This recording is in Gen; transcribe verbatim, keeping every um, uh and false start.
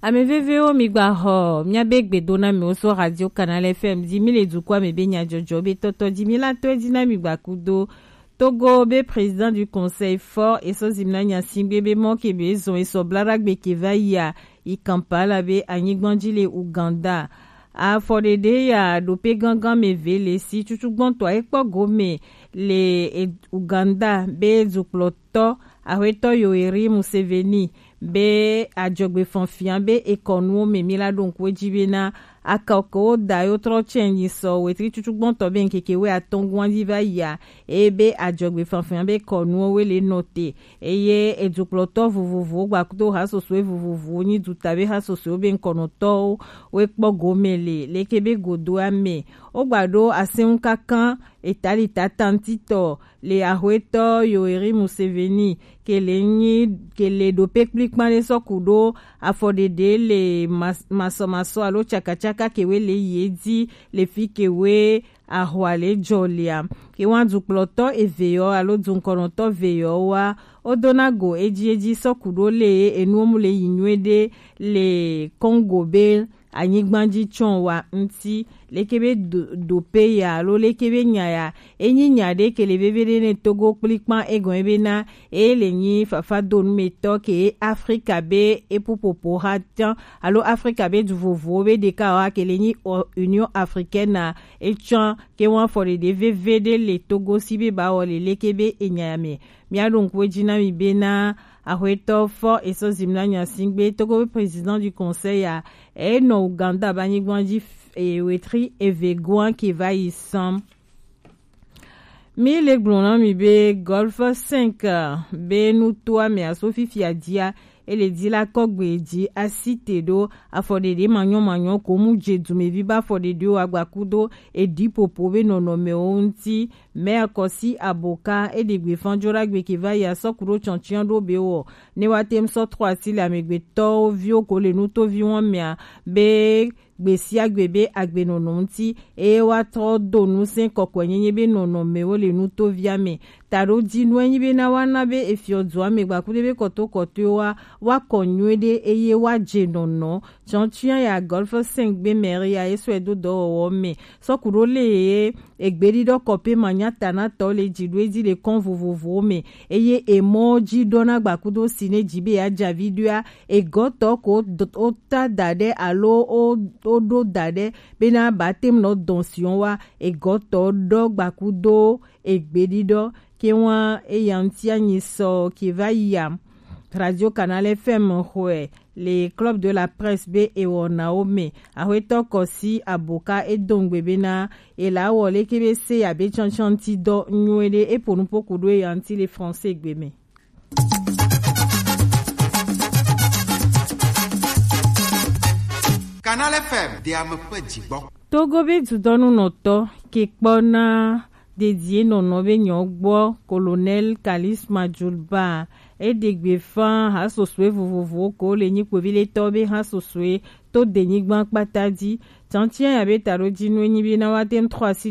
Ame vevewo, mi gba xɔ miabe gbedonamiwo so Radio Canal F M ji. Mi le dukɔa me be nyajɔjɔ be tɔtɔ ji. Mi la to edzi na mi gba kudo Togo be président du conseil fort eso zimna nyasingbe be mɔ ke be zɔn eso blaragbe ke va yia yi Kampala be anyigban ji le Uganda. Afɔɖeɖe ya ɖope gangan me ve le si cucugbɔntɔ ekpɔ gome le e-, Uganda be dukplɔtɔ Axwetɔ Yoweri Museveni be adzɔgbefanfia be ekɔnuwo me mi la ɖo ŋku edzi be na akɔkewo da yo trɔ tsɛ nyi sɔ wetri cucugbɔntɔ be ŋkeke we atɔngua dzi va yia eye be adzɔgbefanfia be kɔnuwo we le nɔ te eye edukplɔtɔ vovovowo gbakudo hasosoe vovovowo nyi duta be hasosoewo be ŋkɔnɔtɔwo we kpɔ gome le leke be godoa me wogba ɖo asɛnŋu kankan Itali tatantitɔ le Axwetɔ Yoweri Museveni ke le nyi ke le ɖope kplikpan ɖe sɔ ku ɖo afɔɖeɖe le mas-, masɔmasɔ alo tsakatsaka ke we le ye dzi le fi ke we ahwa le jɔ lea. Ke wa dukplɔtɔ eve yɔ alo dunkɔnɔtɔ ve yɔ wa wodona go edzi edzi sɔ ku ɖo le enuwo mu le yi nyuie ɖe le Congo be anyigba ji tsɔ wa ŋuti leke be do, dope ya alo leke be nya ya enyi nya ɖe ke le veve ɖe ne Togo kplikpan egɔn be na e le nyi fafa donumetɔ ke Afrika be epupopo ha tsan alo Afrika be du vovowo be ɖeka wa ke le nyi o-, Union Africaine na etsɔn ke wa fɔ ɖeɖe veve ɖe le Togo si be ba wɔ le leke be enya ya me. Mia ɖo ŋku edzi na mi be na Axwetɔ fɔ eso zimna nyasingbe Togo be président du conseil ya e nɔ Uganda ba nyigban ji f-, e, wetri eve goan ke va yi sɔn. Mi le gblɔ na mi be Golf cinq be nutoa me aso fifia dia e le di la kɔgbe ji asi te ɖo afɔɖeɖe manyɔ manyɔ ko mu je dumevi ba afɔɖeɖewo agbakudo edi popo be nɔnɔmewo ŋuti. Mɛ kɔsi aboka e ɖe gbe fan jo ɖagbe ke va yi asɔ ku ɖo tsɔntsian ɖo be wɔ ne wa tem sɔ trɔ asi le amegbetɔwo viwo ko le nutovi wɔn mea be gbe sia gbe be agbenɔnɔ ŋuti eye wa trɔ do ŋusẽ kɔkɔenyenye be nɔnɔmewo le nutovia me. Taɖo dinu enyi be na wa na be efiɔ dua me gbakuɖe be kɔtokɔtoewo wa wa kɔ nyuie ɖe eye wa je nɔnɔ. Tsɔntsia ya Golf cinq gbe mɛri ya ye sɔe do dɔwɔwɔ me sɔ ku ɖo le ye egbeɖiɖɔ kɔpe manyatanatɔ le dzi ɖo edzi le kɔn vovovowo me eye emɔ dzi ɖɔna gbakudo si ne dzi be ya dza vi ɖoa egɔtɔ ko d-, o ta da ɖe alo o, o ɖo da ɖe bena ba tem nɔ dɔn siɔn wa egɔtɔ ɖɔ gbakudo egbeɖiɖɔ ke wa eya ŋuti anyi sɔ ke va yi ya. Radio Canal F M xɔe le Club de la Presse be ewɔnawo me. Axwetɔ kɔsi aboka edongbe bena ela wɔ leke be se ya be tsɔntsɔnti dɔ nyuie ɖe epo nupo ku ɖo eya ŋuti le français gbe me. Canal F M de ame ƒe dzigbɔ. Togo be dudɔnunɔtɔ ke kpɔna dedie nɔnɔ be nyɔ gbɔ Colonel Kalis Majulba eɖe gbe fan hasosoe vovovowo ko le nyikpovi le tɔ be hasosoe to denyigba kpata dzi. Tsantsia ya be taɖo dzi nu enyi be na wa tem trɔ asi